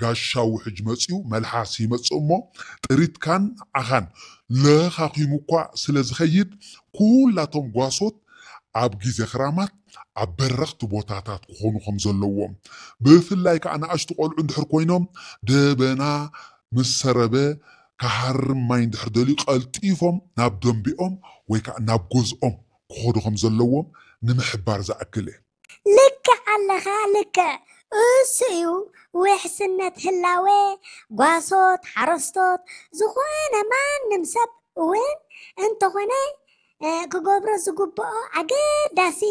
ጋሻ ውሕጅ መጺኡ መልሓስ ይመጽእ እሞ፣ ጥሪትካን ንዓኻን ለኻኺሙ እኳ ስለ ዝኸይድ፣ ኩላቶም ጓሶት ኣብ ግዜ ክራማት ኣብ በረኽቲ ቦታታት ክኾኑ ከም ዘለዎም፣ ብፍላይ ከኣ ንኣሽቱ ቆልዑ እንድሕር ኮይኖም፣ ደበና ምስ ሰረበ፣ ክሃርም ማይ እንድሕር ደልዩ፣ ቀልጢፎም ናብ ደንቢኦም ወይ ከኣ ናብ ገዝኦም ክኸዱ ከም ዘለዎም ንምሕባር ዝኣክል እየ። ልክዕ ኣለኻ፣ ልክዕ። እሱ እዩ ውሕስነት ህላዌ ጓሶት፣ ሓረስቶት፣ ዝኾነ ማንም ሰብ እውን እንተኾነ፣ እ፣ ክገብሮ ዝግብኦ ኣገዳሲ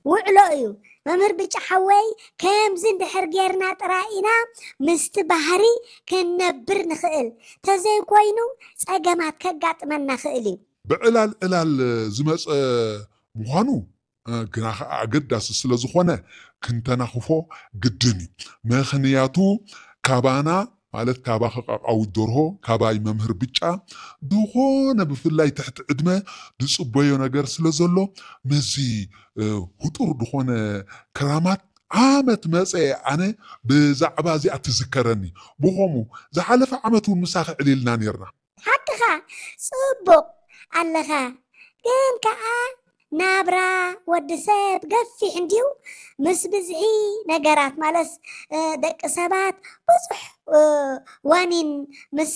ውዕሎ እዩ። መምህር ብጫ ሓወይ፣ ከምዚ እንድሕር ጌርና ጥራይ ኢና ምስቲ ባህሪ ክንነብር ንኽእል። ተዘይኮይኑ ጸገማት ከጋጥመና ኽእል እዩ። ብዕላል ዕላል ዝመጸ ምዃኑ፣ እ፣ ግና ኸዓ ኣገዳሲ ስለ ዝኾነ ክንተናኽፎ ግድን እዩ። ምኽንያቱ ካባና፣ ማለት ካባኺ ቃቃዊት ደርሆ፣ ካባይ መምህር ብጫ፣ ዝኾነ ብፍላይ ትሕቲ ዕድመ ዝጽበዮ ነገር ስለ ዘሎ፣ ምስዚ፣ እ፣ ህጡር ዝኾነ ክራማት ዓመት መጸ ኣነ ብዛዕባ እዚኣ ትዝከረኒ። ብኸምኡ ዝሓለፈ ዓመት እውን ምሳኺ ዕሊልና ኔርና። ሓቅኻ፣ ጽቡቕ ኣለኻ። ግን ከኣ ናብራ ወዲ ሰብ ገፊሕ እንድዩ። ምስ ብዝሒ ነገራት፣ ማለትስ፣ እ፣ ደቂ ሰባት ብዙሕ፣ እ፣ ዋኒን ምስ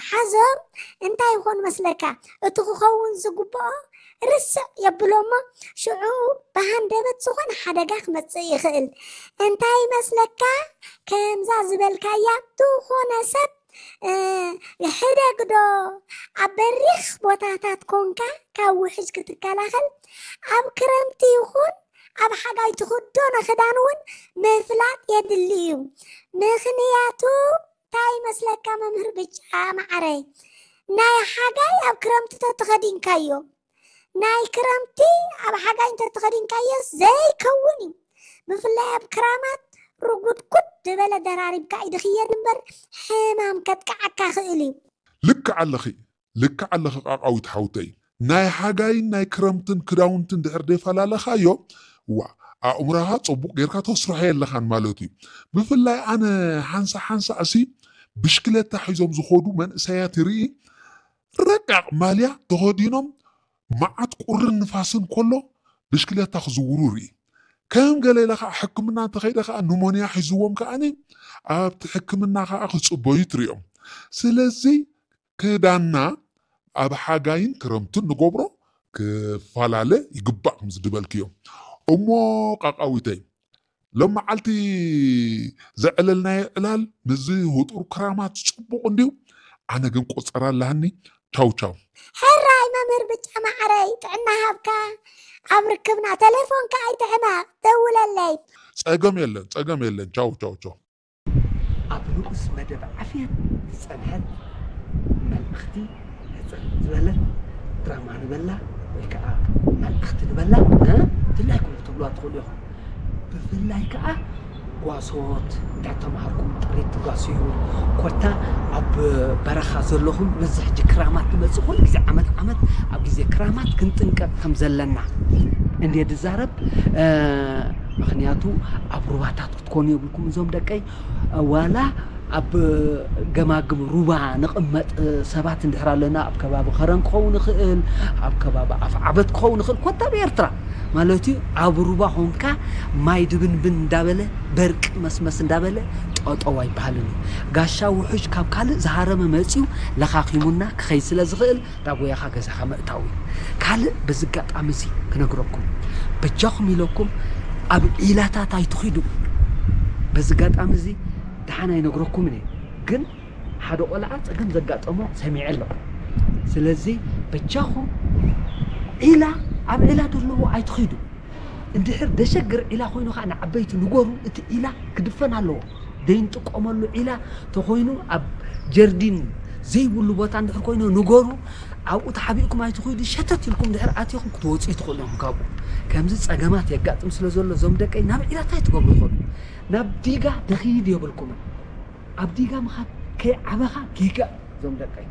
ሓዞም እንታይ ይኾን መስለካ? እቲ ክኸውን ዝግብኦ ርስዕ የብሎ እሞ ሽዑ ብሃንደበት ዝኾነ ሓደጋ ክመጽእ ይኽእል። እንታይ ይመስለካ? ከምዛ ዝበልካያ ዝኾነ ሰብ፣ እ፣ ሕደግ ዶ ኣብ በሪኽ ቦታታት ኮንካ ካብ ውሕጅ ክትከላኸል፣ ኣብ ክረምቲ ይኹን ኣብ ሓጋይ ትኽደኖ ክዳን እውን ምፍላጥ የድሊ እዩ። ምኽንያቱ እንታይ ይመስለካ መምህር ብጫ መዓረይ? ናይ ሓጋይ ኣብ ክረምቲ ተተኸዲንካዮ፣ ናይ ክረምቲ ኣብ ሓጋይ እንተተኸዲንካዮስ ዘይከውን እዩ። ብፍላይ ኣብ ክራማት ርጉድጉድ ዝበለ ደራሪብካ እዩ ድኽየድ እምበር ሕማም ከጥቅዓካ ክእል እዩ። ልክዕ ኣለኺ፣ ልክዕ ኣለኺ ቃቃዊት ሓውተይ። ናይ ሓጋይን ናይ ክረምትን ክዳውንቲ እንድሕር ደፈላለኻዮ፣ ዋ፣ ኣእምሮኻ ጽቡቕ ጌርካ ተስርሖ የለኻን ማለት እዩ። ብፍላይ ኣነ ሓንሳ ሓንሳ እሲ ብሽክለታ ሒዞም ዝኸዱ መንእሰያት ይርኢ፣ ረቃቕ ማልያ ተኸዲኖም መዓት ቁርን ንፋስን ከሎ ብሽክለታ ክዝውሩ ርኢ። ከም ገለ ኢለ ኸዓ ሕክምና እንተኸይደ ኸዓ ኑሞንያ ሒዝዎም ከዓኒ ኣብቲ ሕክምና ኸዓ ክጽበዩ ትርእዮም። ስለዚ ክዳንና ኣብ ሓጋይን ክረምትን ንገብሮ ክፈላለ ይግባእ፣ ከም ዝድበልክዮ። እሞ ቃቃዊተይ፣ ሎም መዓልቲ ዘዕለልናዮ ዕላል ምስዚ ህጡር ክራማት ጽቡቕ እንድዩ። ኣነ ግን ቆጸራ ኣለሃኒ። ቻው ቻው። ሕራይ መምህር ብጫ ማዕረይ፣ ጥዕና ሃብካ። ኣብ ርክብና ተሌፎንካ ኣይትሕመቕ፣ ደውለለይ። ጸገም የለን፣ ጸገም የለን። ቻው ቻው ቻው። ኣብ ንኡስ መደብ ዓፍየት ዝጸንሐት መልእኽቲ፣ ሕጽር ዝበለት ድራማ ንበላ ወይ ከኣ መልእኽቲ ንበላ፣ እ? ድላይኩም ክትብልዋ ትኽእሉ ኢኹም። ብፍላይ ከኣ ጓሶት፣ እንድሕር ተማሃርኩም ጥሪት ትጓስዩ፣ ኮታ ኣብ በረኻ ዘለኹም፣ በዚ ሕጂ ክራማት ትመጽእ፣ ኩሉ ግዜ ዓመት ዓመት ኣብ ግዜ ክራማት ክንጥንቀቕ ከም ዘለና እንድየ ዝዛረብ። እ፣ ምኽንያቱ ኣብ ሩባታት ክትኮኑ የብልኩም እዞም ደቀይ። ዋላ ኣብ ገማግም ሩባ ንቕመጥ ሰባት እንድሕር ኣለና፣ ኣብ ከባቢ ከረን ክኸውን ይኽእል፣ ኣብ ከባቢ ኣፍዓበት ክኸውን ይኽእል፣ ኮታ ኣብ ኤርትራ ማለት እዩ። ኣብ ሩባ ኾንካ ማይ ድብንብን እንዳበለ፣ በርቂ መስመስ እንዳበለ ጠጠው ኣይበሃልን እዩ። ጋሻ ውሑጅ ካብ ካልእ ዝሃረመ መጽዩ ለኻኺሙና ክኸይድ ስለ ዝኽእል፣ ዳጎያኻ ገዛኻ ምእታው እዩ። ካልእ በዚ ኣጋጣሚ እዚ ክነግረኩም፣ በጃኹም ኢለኩም ኣብ ዒላታት ኣይትኺዱ። በዚ ኣጋጣሚ እዚ ደሓን ኣይነግረኩምን እየ፣ ግን ሓደ ቆልዓ ጸገም ዘጋጠሞ ሰሚዐ ኣለኹ። ስለዚ በጃኹም ዒላ፣ ኣብ ዒላ ዘለዎ ኣይትኺዱ። እንድሕር ደሸግር ዒላ ኮይኑ ኸዓ ንዓበይቲ ንገሩ፣ እቲ ዒላ ክድፈን ኣለዎ። ደይንጥቀመሉ ዒላ ተኾይኑ ኣብ ጀርዲን ዘይብሉ ቦታ እንድሕር ኮይኑ ንገሩ፣ ኣብኡ ተሓቢእኩም ኣይትኽዱ፣ ሸተት ኢልኩም እንድሕር ኣቲኹም ክትወፁ ትኽእሉ ኢኹም ካብኡ። ከምዚ ጸገማት የጋጥም ስለ ዘሎ እዞም ደቀይ ናብ ዒላ እንታይ ትገብሩ ትኽእሉ? ናብ ዲጋ ድኺድ የብልኩምን። ኣብ ዲጋ ምኻድ ከይዓበኻ ጌጋ እዞም ደቀይ።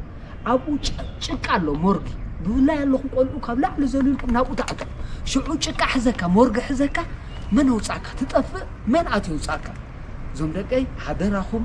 ኣብኡ ጭ-፣ ጭቃ ኣሎ ሞርጊ። ብፍላይ ኣለኹም ቆልዑ ካብ ላዕሊ ዘሊልኩም ናብኡ ትኣትዉ። ሽዑ ጭቃ ሕዘካ፣ ሞርጊ ሕዘካ፣ መን ኣውጻእካ? ትጠፍእ፣ መን ኣትዩ ኣውጻእካ? እዞም ደቀይ ሓደራኹም